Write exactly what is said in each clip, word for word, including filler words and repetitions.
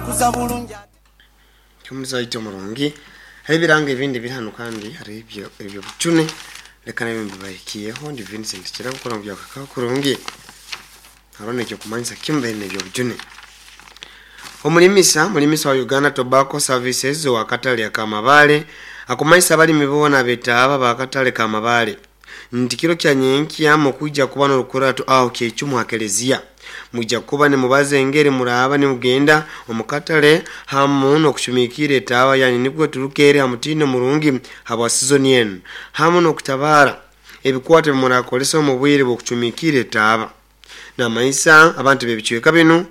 Akuza bulungi. Kyomuzaito murungi, hari ebiranga ebindi biri hano kandi hari ebyo ebyo bucune, leka nabyo mbibahikiyeho. Ndi Vincent Kirabo kora mu byakaka kurungi, haro nekyo kumanyisa kimwe nebyo bujune. Omulimisa mulimisa wa Uganda Tobacco Services wa katale akamabale akumanyisa abalimi boona betaaba bakatale kamabale nti kiro kya nyenkya mukuija kuba n'orukurato aho kyecumu hakelezia, mwija kuba nimubaza engeri muraba nimugenda omukatale hamu n'okucumiikira etaaba yanyu nibwo turukere ha mutindo murungi habwa sizoni enu, hamu n'okutabara ebikwato ebimurakolesa omu bwire bw'okucumiikira etaaba. Namanyisa abantu b'ebicweka binu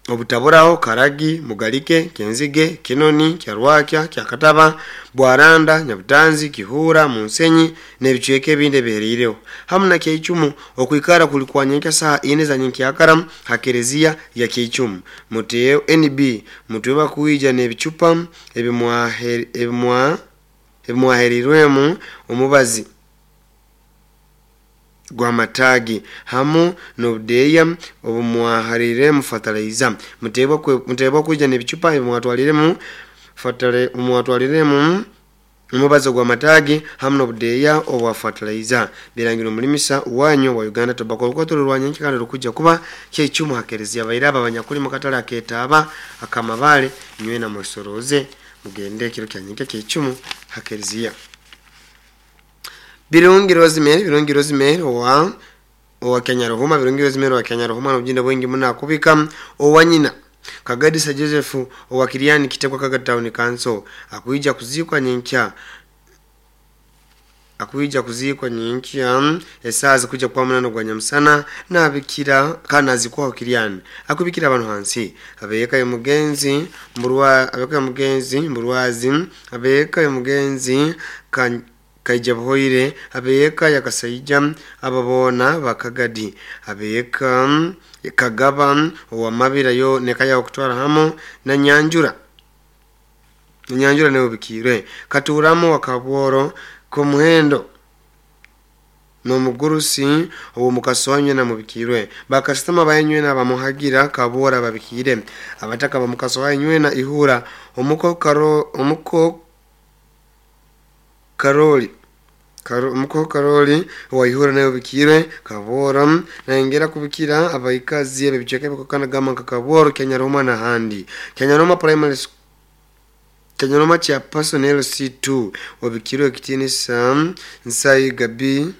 obutaburaho Karagi, Mugalike, Kenzige, Kinoni, Kyarwakya, Kyakataba, Bwaranda, Nyabutanzi, Kihura, Munsenyi n'ebicweka ebindi ebihereireho, hamu na Kyeicumu okwikara kuli kwa nyenkya saha ine za nyenkyakara ha kereziya ya Kyeicumu. Muteo N B mutwe kuija n'ebicupa ebimwahe- ebimwa- ebimwaherirwemu omubazi gw'amatagi hamu n'obudeeya obumwahariremu fertilizer. Muteebwa kwe- muteebwa kwija n'ebicupa ebimwatwariremu fertili- mwatwariremu omubazi gw'amatagi hamu n'obudeeya obwa fertilizer. Birangirwe omulimisa wanyu wa Uganda Tobacco. Orukwato rwa nyenkya kandi rukujja kuba Kyeicumu ha kereziya. Baire aba abanyakuli mu katale aketaaba akamabale, nywena mwesoroze mugende ekiro kya nyenkya Kyeicumu ha kereziya. Birungi Rosemary, Birungi Rosemary owa owa Kenya Ruhuma, Birungi Rosemary owa Kenya Ruhuma n'obujinda bwingi muno akubika owa nyina Kagadisa Joseph owa Kiriani Kitekwa Kaga Town Council akuija kuzikwa nyenkya, akuija kuzikwa nyenkya esaa zikuja kwa munano gwa nyamusana nabikira kana azikwaho Kiriani akubikira abantu hansi abeka ya mugenzi mburwa, abeka ya mugenzi mburwazi, abeka ya mugenzi kan Kaija Buhoire, abeka ya Kasaija ababona bakagadi, abeka Kagaba owa Mabira yo nekaya okutwara hamu na Nyanjura, Nyanjura nayo bikirwe Katuramo wa Kabworo Komuhendo n'omugurusi owo mukasonywe na mubikirwe bakasitama bayenywe na bamuhagira Kabwora babikire abataka bamukasoanywe na Ihura omuko karo omuko Karoli Karo, omuko Karoli wa Ihura nayo bikirwe Kabwora naengera kubikira abaikazi ebicweka ebikokana gama nka Kabworo Kenya Roma na handi Kenya Roma Primary School Kenya Roma cha personnel C two wabikirwe ekitinisa Nsai Gabi